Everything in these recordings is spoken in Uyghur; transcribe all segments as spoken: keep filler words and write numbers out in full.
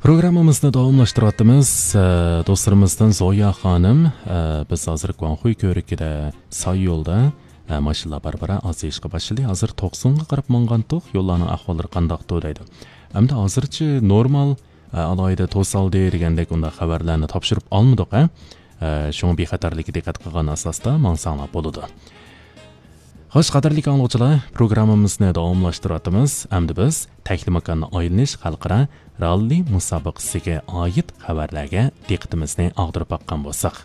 پروگراممىمىزنى داۋاملاشتۇرۇۋاتىمىز. ئە، دوستلىرىمىزدىن زويا خانىم، ئە، بىز ھازىر گۇاڭخۇي كۆۋرۈكىدە ساي يولدا، ئە، ماشىنىلار بارا-بارا ئازىيىشقا باشلىدى. ھازىر توقسۇنغا قاراپ ماڭغانتۇق، يوللارنىڭ ئەھۋاللىرى قانداقتۇ دەيدۇ. ئەمدى ھازىرچە نورمال، ئە، ئالاھىدە توسالدى دېگەندەك ئۇنداق خەۋەرلەرنى تاپشۇرۇپ ئالمىدۇق، ھە؟ ئە، شۇڭا بىخەتەرلىككە دىققەت قىلغان ئاساستا ماڭساڭلار بولىدۇ. خوش، قەدىرلىك ئاڭلىغۇچىلار، پروگراممىمىزنى داۋاملاشتۇرۇۋاتىمىز. ئەمدى بىز تەكلىماكاننى ئايلىنىش خەلقئارا راللى مۇسابىقىسىگە ئائىت خەۋەرلەرگە دىققىتىمىزنى ئاغدۇرۇپ باققان بولساق.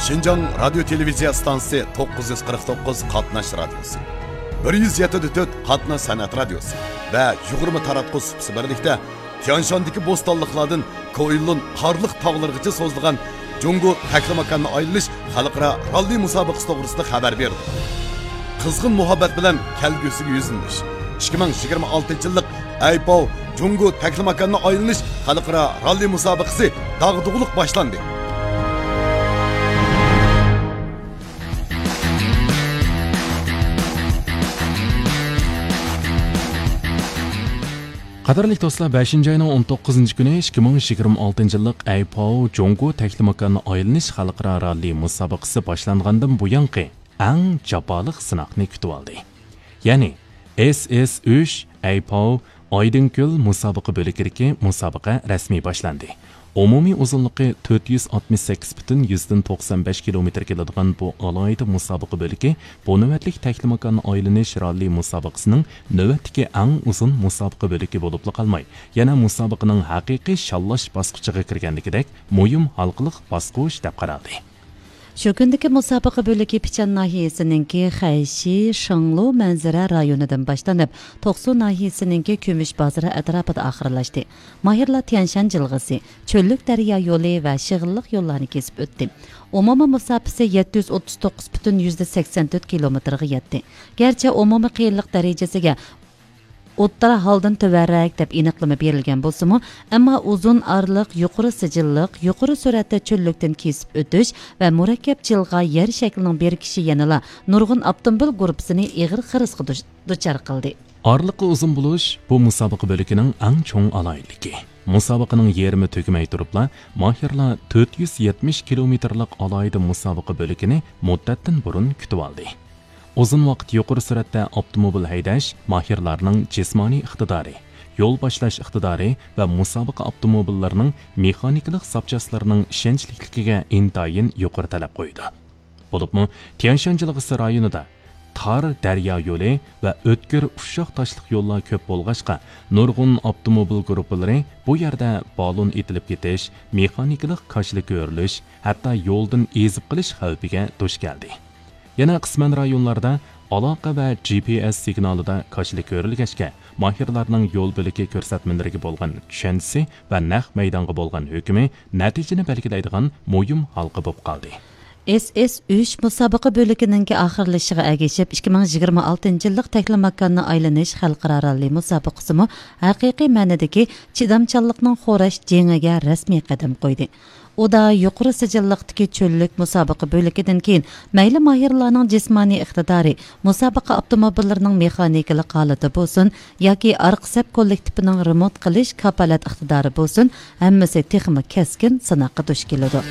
شىنجاڭ رادىيو تېلېۋىزىيە ئىستانسىسى توققۇز يۈز قىرىق توققۇز قاتناش رادىيوسى، بىر يۈز يەتتە تۆت قاتناش سەنئەت رادىيوسى ۋە يىگىرمە تاراتقۇ سۇپىسى بىرلىكتە تيانشاندىكى بوستانلىقلاردىن كوئىلۇن قارلىق تاغلىرىغىچە سوزۇلغان جۇڭگو تەكلىماكاننى ئايلىنىش خەلقئارا راللى مۇسابىقىسى توغرىسىدا خەۋەر بېرىدۇ. قىزغىن مۇھەببەت بىلەن كەلگۈسىگە يۈزلىنىش. ئىككى مىڭ يىگىرمە ئالتىنچى يىللىق ئەيپاۋ جۇڭگو تەكلىماكاننى ئايلىنىش خەلقئارا راللى مۇسابىقىسى داغدۇغىلىق باشلاندى. قەدىرلىك دوستلار، بەشىنچى ئاينىڭ ئون توققۇزىنچى كۈنى ئىككى مىڭ يىگىرمە ئالتىنچى يىللىق ئەيپاۋ جۇڭگو تەكلىماكاننى ئايلىنىش خەلقئارا راللى مۇسابىقىسى باشلانغاندىن بۇيانقى ئەڭ جاپالىق سىناقنى كۈتۈۋالدى. يەنى، ئېس ئېس ئۈچ ئەيپاۋ ئايدىڭكۆل مۇسابىقە بۆلىكىدىكى مۇسابىقە رەسمىي باشلاندى. ئومۇمىي ئۇزۇنلۇقى تۆت يۈز ئاتمىش سەككىز پۈتۈن يۈزدىن توقسان بەش كىلومېتىر كېلىدىغان بۇ ئالاھىدە مۇسابىقە بۆلىكى بۇ نۆۋەتلىك تەكلىماكان ئايلىنىش راللى مۇسابىقىسىنىڭ نۆۋەتتىكى ئەڭ ئۇزۇن مۇسابىقە بۆلىكى بولۇپلا قالماي، يەنە مۇسابىقىنىڭ ھەقىقىي شاللاش باسقۇچىغا كىرگەندىكىدەك مۇھىم ھالقىلىق باسقۇچ دەپ قارالدى. شۇ كۈندىكى مۇسابىقە بۆلىكى پىچان ناھىيەسىنىڭكى خەيشى شېڭلۇ مەنزىرە رايونىدىن باشلىنىپ، توقسۇ ناھىيەسىنىڭكى كۈمۈش بازىرى ئەتراپىدا ئاخىرلاشتى. ماھىرلار تيەنشان جىلغىسى، چۆللۈك دەريا يولى ۋە شېغىللىق يوللارنى كېسىپ ئۆتتى. ئومۇمىي مۇساپىسى يەتتە يۈز ئوتتۇز توققۇز پۈتۈن يۈزدە سەكسەن تۆت كىلومېتىرغا يەتتى. گەرچە ئومۇمىي قىيىنلىق دەرىجىسىگە ئوتتۇرا ھالدىن تۆۋەنرەك دەپ ئېنىقلىما بېرىلگەن بولسىمۇ، ئەمما ئۇزۇن ئارىلىق، يۇقىرى سىجىللىق، يۇقىرى سۈرئەتتە چۆللۈكتىن كېسىپ ئۆتۈش ۋە مۇرەككەپ جىلغا يەر شەكلىنىڭ بېرىكىشى يەنىلا نۇرغۇن ئاپتوموبىل گۇرۇپپىسىنى ئېغىر خىرىسقا دۇچ-، دۇچار قىلدى. ئارىلىققا ئۇزۇن بولۇش بۇ مۇسابىقە بۆلىكىنىڭ ئەڭ چوڭ ئالاھىدىلىكى. مۇسابىقىنىڭ يېرىمى تۈگىمەي تۇرۇپلا، ماھىرلار تۆت يۈز يەتمىش كىلومېتىرلىق ئالاھىدە مۇسابىقە بۆلىكىنى مۇددەتتىن بۇرۇن كۈتۈۋالدى. ئۇزۇن ۋاقىت يۇقىرى سۈرئەتتە ئاپتوموبىل ھەيدەش ماھىرلارنىڭ جىسمانىي ئىقتىدارى، يول باشلاش ئىقتىدارى ۋە مۇسابىقە ئاپتوموبىللىرىنىڭ مېخانىكىلىق زاپچاسلىرىنىڭ ئىشەنچلىكلىكىگە ئىنتايىن يۇقىرى تەلەپ قويىدۇ. بولۇپمۇ، تيەنشان جىلغىسى رايونىدا تار دەريا يولى ۋە ئۆتكۈر ئۇششاق تاشلىق يوللار كۆپ بولغاچقا، نۇرغۇن ئاپتوموبىل گۇرۇپپىلىرى بۇ يەردە بالون ئېتىلىپ كېتىش، مېخانىكىلىق كاشىلا كۆرۈلۈش، ھەتتا يولدىن ئېزىپ قېلىش خەۋپىگە دۇچ كەلدى. يەنە قىسمەن رايونلاردا ئالاقە ۋە جى پى ئېس سىگنالىدا كاشىلا كۆرۈلگەچكە، ماھىرلارنىڭ يول بۆلىكى كۆرسەتمىلىرىگە بولغان چۈشەنچىسى ۋە نەق مەيدانغا بولغان ھۆكمى نەتىجىنى بەلگىلەيدىغان مۇھىم ھالقا بولۇپ قالدى. ئېس ئېس ئۈچ مۇسابىقە بۆلىكىنىڭكى ئاخىرلىشىشىغا ئەگىشىپ، ئىككى مىڭ يىگىرمە ئالتىنچى يىللىق تەكلىماكاننى ئايلىنىش خەلقئارا راللى مۇسابىقىسىمۇ ھەقىقىي مەنىدىكى چىدامچانلىقنىڭ خوراش جېڭىگە رەسمىي قەدەم قويدى. ئۇدا يۇقىرى سىجىللىقتىكى چۆللۈك مۇسابىقە بۆلىكىدىن كېيىن، مەيلى ماھىرلارنىڭ جىسمانىي ئىقتىدارى، مۇسابىقە ئاپتوموبىللىرىنىڭ مېخانىكىلىق ھالىتى بولسۇن ياكى ئارقا سەپ كوللېكتىپىنىڭ رېمونت قىلىش كاپالەت ئىقتىدارى بولسۇن، ھەممىسى تېخىمۇ كەسكىن سىناققا دۇچ كېلىدۇ.